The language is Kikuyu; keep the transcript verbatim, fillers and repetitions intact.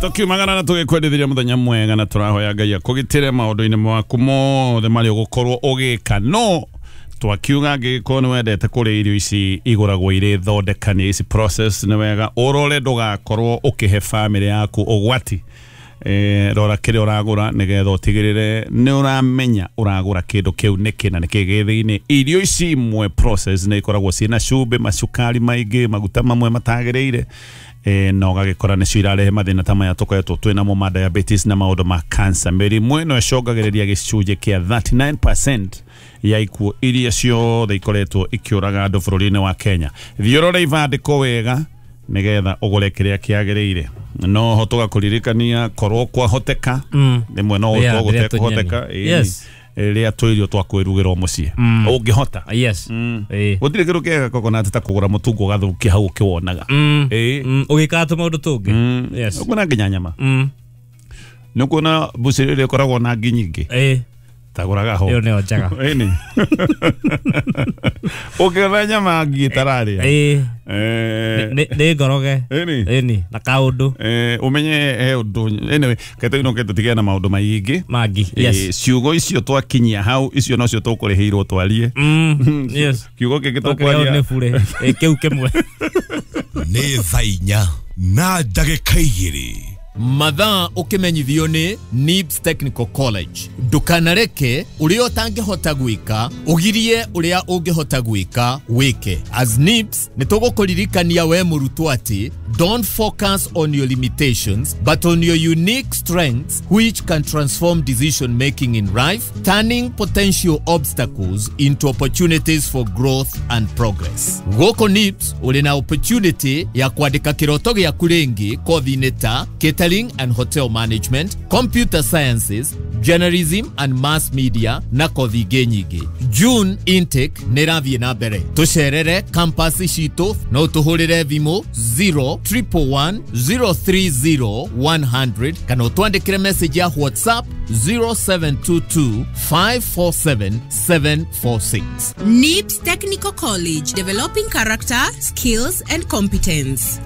Tukiumagara na tugikwendithiria muthenya mwega na turahoya Ngai akugitire maundu-ini maku mothe maria ugukorwo ugika. No twakiuga angĩgĩkorwo nĩ wendete kũrĩa irio ici igũragwo irĩ thondekanie, ici process, nĩ wega ũrore ndũgakorwo ũkĩhe bamĩrĩ yaku ũgwati. Eh, rora kĩrĩa ũragũra nĩgetha ũtigĩrĩre nĩ ũramenya ũragũra kĩndũ kĩu nĩkĩ na nĩkĩ gĩ thĩinĩ. Irio ici imwe process nĩ ikoragwo ciĩna cumbĩ, macukari maingĩ, maguta mamwe matagĩrĩire, eh, na ũgagĩkora nĩcio irarehe mathĩna ta maya tũkoretwo twĩnamo ma diabetes na maũndũ ma cancer. Mĩrimũ ĩno ĩcũngagĩrĩria gĩcunjĩ kĩa thirty-nine percent ya ikuũ iria ciothe ikoretwo ikĩũraga andũ bũrũri-inĩ wa Kenya. Thiĩ ũrore ibandĩko wega nĩgetha ũgũre kĩrĩa kĩagĩrĩire. No ho tũgakũririkania korwo kwahoteka Mm. rĩmwe no Rĩa- gũkorwo rĩa gũtekũhoteka, tũnyeni. Yes. rĩa tũirio twa kwĩrugĩrwo mũciĩ ũngĩhota. Yes. Ĩĩ. Gũtirĩ kĩndũ kĩega coconut ta kũgũra mũtungo ũgathũkia hau ũkĩwonaga. Mm. Ĩĩ. Mm. Ũgĩkaga tũmaũndũ tũngĩ. Yes. Ũkuona nginya nyama, Mm. nĩ ũkuona mbucĩrĩ ĩrĩa ĩkoragwo na ngi nyingĩ, Ĩĩ. tagũraga ho. Ĩyo nĩyo njega. Ĩni ũkĩona nyama ngi ĩtararĩa. Ĩĩ. Eh, Nĩ nĩ ngoroge. Ĩni. Ĩni. Na kaũndũ. Eh, ũmenye he ũndũ, anyway ketũinũke tũtigane na maũndũ maingĩ. Mangi. Eh, Yes. Ciugo icio twakinyia hau, icio nocio tũkũrĩhĩirwo twarie. Mm. Yes. Kiugo kĩngĩ Tũkĩrĩo tũkwaria nĩ bure. Ĩ, kĩu kĩmwe. Nĩ thaa inya na ndagĩka igĩrĩ. Mathaa ũkĩmenyithio nĩ NIBS Technical College. Ndũkanareke ũrĩa ũtangĩhota gwĩka ũgirie ũrĩa ũngĩhota gwĩka wĩke. As NIBS nĩ tũgũkũririkania we mũrutwo atĩ don't focus on your limitations but on your unique strengths, which can transform decision making in life, turning potential obstacles into opportunities for growth and progress. Gũkũ NIBS ũrĩ na opportunity ya kwandĩka kĩroto gĩaku rĩngĩ kothi-inĩ ta catering and hotel management, computer sciences, journalism and mass media na kothi ingĩ nyingĩ. June intake nĩ ĩrathiĩ na mbere. Tũcerere campus citũ, no tũhũrĩre thimũ zero triple one zero three zero one hundred kana ũtwandĩkĩre message ya WhatsApp zero seven two two five four seven seven four six. NIBS Technical College, developing character, skills, and competence.